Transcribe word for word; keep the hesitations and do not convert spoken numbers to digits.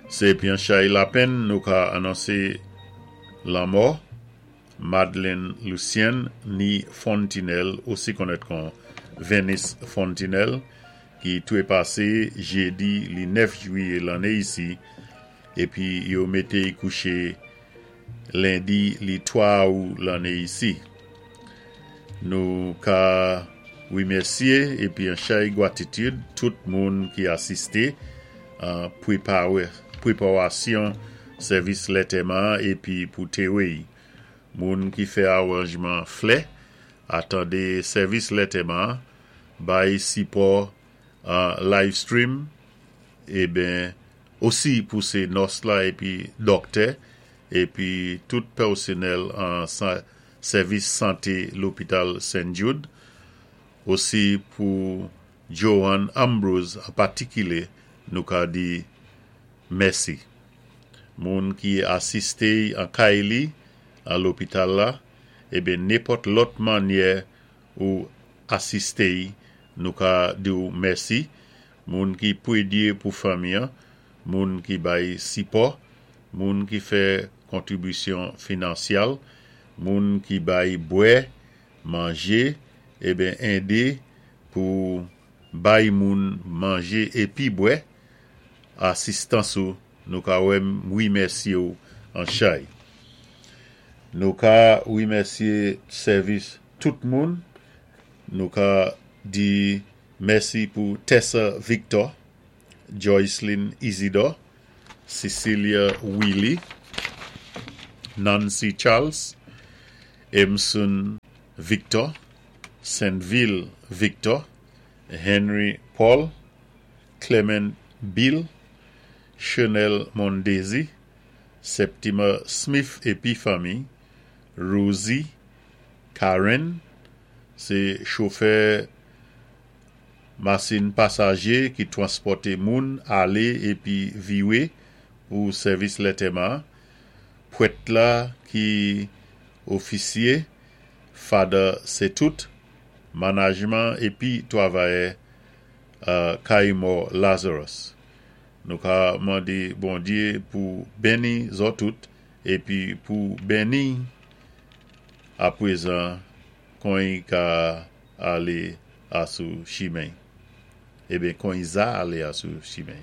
Sé épi an chay lapenn nou ka anonsé lanmò Madeleine Lucien ni Fontinelle, osi konnèt kon Venice Fontinelle, ki touwé pasé jédi li nèf jwiyé lanné isi, épi yo mété'y kouché lendi li twa awou lanné isi. Nou ka wimèsyé épi an chay gwatitud tout moun ki asisté an pwépawasyon sèvis lantèman épi pou téwé'y. Moun ki fè awanjman flè, atandé sèvis lantèman, bay sipò an live stream, eben osi pou sé nòs la épi dòktè, épi tout pèsonèl an sèvis santé lopital Saint Jude, osi pou Joan Ambrose an patikilé nou ka di mèsi. Moun ki asisté an kay li an lopital la, eben nenpòt lòt mannyè ou asisté nou ka di-w mèsi. Moun ki pwédyé pou fanmi an, moun ki bay sipò, moun ki fè kontribisyon finansyal, moun ki bay bwè, manjé, eben édé pou bay moun manjé épi bwè, asistans ou nou ka wimèsyé-w an chay. Nou ka wimèsyé sèvis tout moun, nou ka di mèsi pou Tessa Victor, Joycelyn Isidore, Cecilia Willy, Nancy Charles, Emson Victor, Saint-Ville Victor, Henry Paul, Clement Bill, Chanel Mondesi, Septima Smith épi fanmi, Rosie Karen, sé chofè masin pasajé ki twanspòté moun alé épi viwé pou sèvis lantèman, pwèt la ki ofisyé, Father Setout, manajman épi twavayè Kay Mò Lazarus. Nou ka mandé Bondyé pou béni zòt tout épi pou béni apwézan kon i ka alé asou chimen. Eben kon i za alé asou chimen.